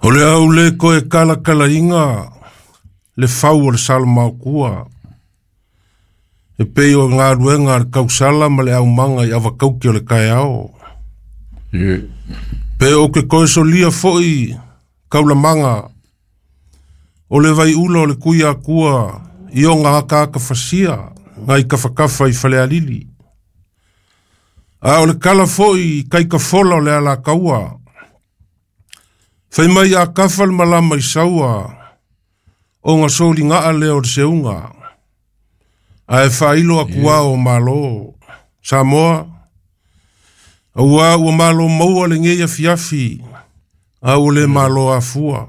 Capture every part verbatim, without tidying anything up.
O le au le koe kalakalaina le fau o le salamaokua. E pei o galuega a le kausala ma le aumaga i avakauki o le taeao. Ie. Pe o ke koe solia fo'i kaulamaga o le vaiula o le Tuiakua i oga akaaka fasia nai kafakafa i Falealili. A o le kala fo'i i kaikafola o le alataua. Fai mai a kafa le malama i saua, oga soligaa lea o le seuga. Ae faailo akuā o Malo. Samoa, auā ua malo maua lenei afiafi, a ua le malo afua.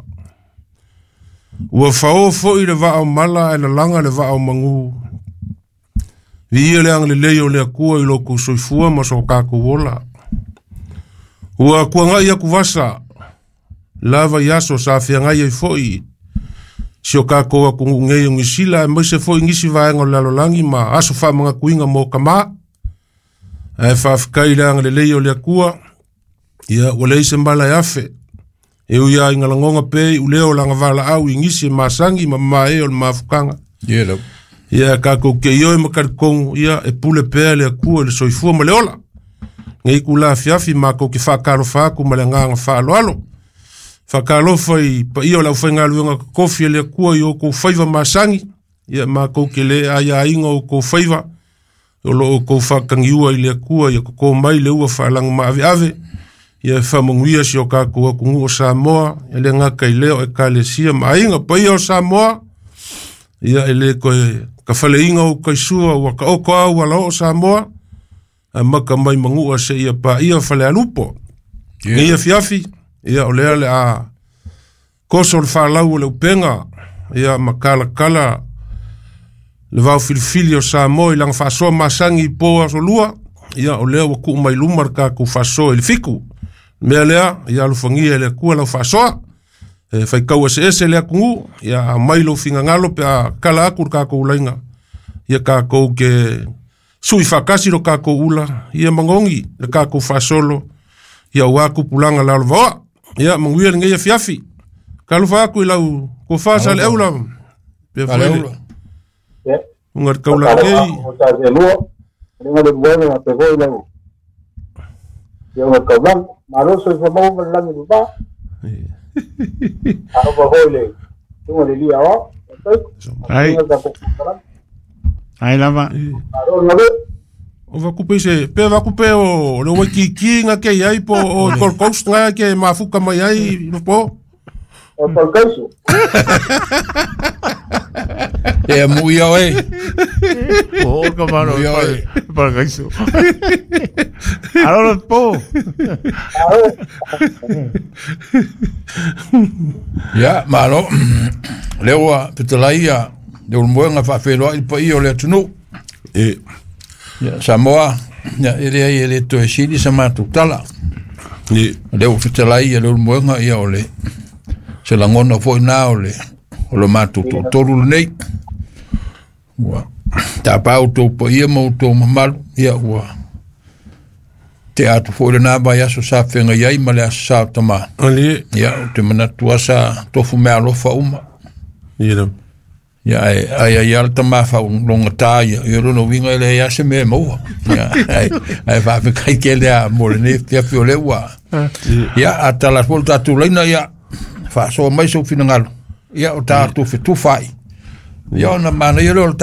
Ua faō foi le vaa o mala ae lalaga le vaa o magū. Viia le agalelei o le Atua i lo outou soifua ma so tatou ola. Ua tuagai atuvasa lava i aso sa feagai ai foi si o tatou atunuu nei o Nisila aemaise foi nisi vaega o le lalolagi ma aso faamanatuina mo kamā. Ae faafetai i le agalelei o le Atua, ia ua leai se mala e afe. E ui lava ina lagona pea iuleo o lana valaau i nisi e masagi ma mamae o le mafutaga. Ie lava. Ia tatou te ioe ma talitonu, ia e pule pea le Atua i le soifua ma le ola. Nei itulā afiafi matou te faatalofa atu ma le agaga faaaloalo. Faatalofa i paia o le aufaigaluega totofi a le Atua i o outou faiva masagi, ia matou te le aiaina o outou faiva, o lo o outou faatagiua i le Atua ia toto mai le ua faalagomaaveave, ia e faamanuia si o tatou atunuu o Samoa, e le gata i lea o ekalesia ma aiga. Paia o Samoa, ia e le toe tafaleina o utaisua ua taoto a ua Samoa, amata mai Manua seia paia Falealupo. Nei afiafi, ia o lea le a koso le falau o le upega, ia ma kalakala le vaofilifili o Samoa i lana faasoa masagi i po aso lua, ia o lea ua tuu mai luma le tatou faasoa i le fitu. Mea lea, ia alofagia e le Atua lau faasoa. E faitau eseese le atunuu, ia aumai lou finagalo pe a kala atu le tatou laina. Ia tatou ke sui faatasi lo tatou ula, ia magogi le tatou faasolo, ia auā tupulaga lalovaoa. Ia manuia lenei afiafi. Talofa atu i lau tofa Saleaula, pe foi le Saleaula. uga le taulagei. O sa se lua, le le buena na pe foi lau. Ia o kaulang, malo soifua maua ma le lagi le va. A o foi le tunga le lia o. Ai. Ai lava. Malo ngale. O vakupe se, pe vakupe o le Waikiki nga ke iai po o Gold Coast nga ke mafuka mai ai no po. O tolkaiso. E mu ia oe. O ka mano Ia oe. para kaiso. Alo po. Ia, malo. Lea ua fetalai ia le ulumoega faafeiloai le paia o le atunuu. E Ia, Samoa, ia, e leai e le toe sili sa matou tala. e Lea ua fetalai ia le ulumoega, ia o le se lagona foi na o le o le matou toatolu lenei. Ua tapā outou paia ma outou mamalu, ia ua tea atu foi lenā vaiaso sa feagai ai ma le aso sa o tamā. ali Ia, ou te manatu lava sa tofu meaalofa uma. e la Ia, ae ai ai lava le tamā faalogatā ia, ia lona uiga e leai lava se mea e maua. Ia, ae ae faafetai tele lava mo lenei afiafi o lea ua. Ia, a tala atu foi le tatou laina, ia, faasoa mai sou finagalo. Ia, o tatou fetufaai. Ia, ona manaia lea o le